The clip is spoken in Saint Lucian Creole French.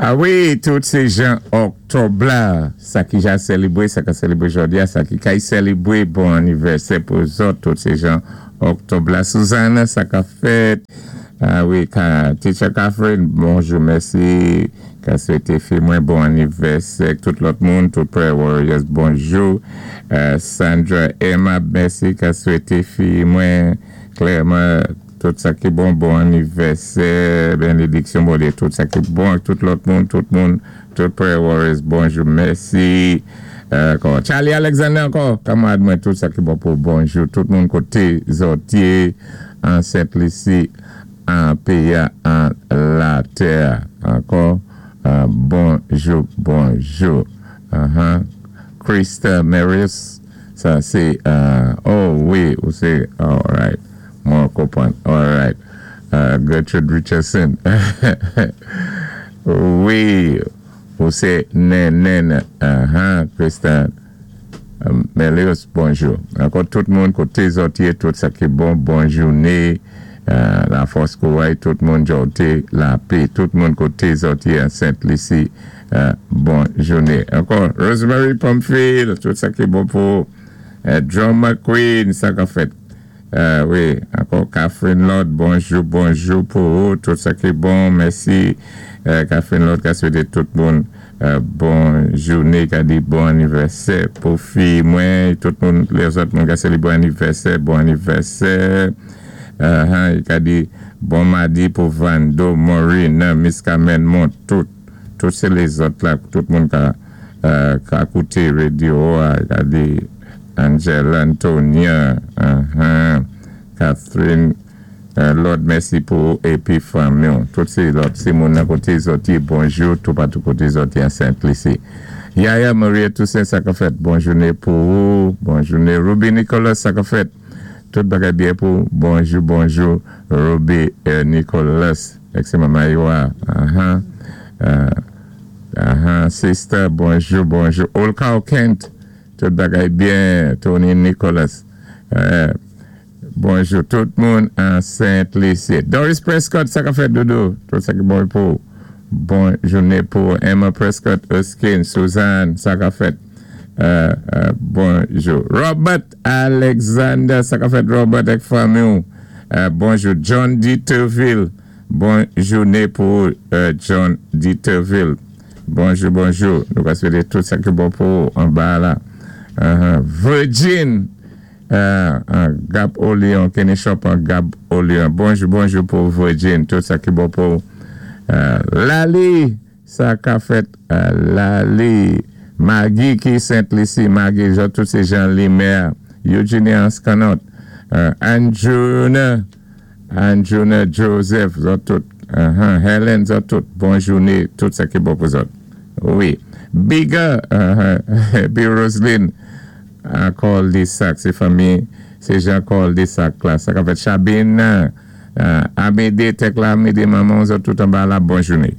A wi, tout sé jan òktòb la, sa ki ja sélébwé, sa ka sélébwé jòdi-a, sa ki kay sélébwé, bon annivèsè pou zòt, tout sé jan òktòb la. Suzanne, sa ka fèt? A wi, ka, Teacher Catherine, bonjou, mèsi, ka swété fi mwen bon annivèsè, tout lòt moun, tout Prayer Warriors, bonjou. Sandra Emma, mèsi, ka swété fi mwen, klèman, tout sa ki bon, bon annivèsè, bénédiksyon Bondyé, tout sa ki bon ak tout lòt moun, tout moun, tout Prayer Warriors, bonjou, mèsi. Ankò, Charlie Alexander ankò, kanmarad mwen, tout sa ki bon pou bonjou, tout moun koté zòt yé, an Sent Lisi, an péyi-a, an latè. Ankò, bonjou, bonjou. Krista Marius, sa sé, oh wi, ou sé, all right, mwen konpwann, all right. Gertrude Richardson, wi, ou sé nenen, Krista Melius, bonjou. Ankò tout moun koté zòt yé, tout sa ki bon, bon jouné, lafòs kouray, tout moun jòté, lapè, tout moun koté zòt yé an Sent Lisi, bon jouné. Ankò, Rosemary Pamphile, tout sa ki bon pou Drummer Queen, sa ka fèt? Wi, ankò Catherine Lord, bonjou, bonjou pou ou, tout sa ki bon, mèsi. Catherine Lord ka swété tout moun bon jouné, ka di bon annivèsè pou fi mwen, tout moun, lèzòt moun ka sélébré bon annivèsè, bon annivèsè. Uh-huh, ka di bon madi pou Vando, Maureen, Miss Carmen Mont, tout, tout sé lèzòt la, tout moun ka, ka kouté radyo, ka di Angela Antonia, Catherine Lord, mèsi pou épi fanmi. Tout sé lòt, sé moun nan koté zòt yé, bonjou, tout patou koté zòt yé an Sent Lisi. Yaya Maria Toussaint, sa ka fèt, bon jouné pou ou, bon jouné. Ruby Nicolas, sa ka fèt, tout bagay byen pou, bonjou, bonjou, Ruby Nicolas, èk sé manman Yoa, sister, bonjou, bonjou. Olka Kent, tout bagay byen, Tony Nicolas, bonjou tout moun an Sent Lisi. Doris Prescott, sa ka fèt doudou, tout sa ki bon pou, bon jouné pou Emma Prescott, Erskine, Suzanne, sa ka fèt, bonjou. Robert Alexander, sa ka fèt Robert ak fanmi, bonjou. John Dieterville, bon jouné pou John Dieterville. Bonjou, bonjou. Nou ka swété tout sa ki bon pou anba la. Virgin, Gap Olion, Kenny Shop an Gap Olion. Bonjou, bonjou pou Virgin, tout sa ki bon pou Lali, sa ka fèt Lali. Maggie ki Sent Lisi, Maggie, tout sé Jean Limer, Eugenie Anscanot, Anjuna, Anjuna Joseph, zòt tout, Helen, zòt tout, bon jouné, tout sa ki bon pou zòt. Wi. Bigger, épi Roseline, ankò Lisak, sé fanmi, sé Jean Col Lisak la, sa ka fèt Chabine, Amédée, Tekla Amédée, manman, zòt tout anba la, bon jouné.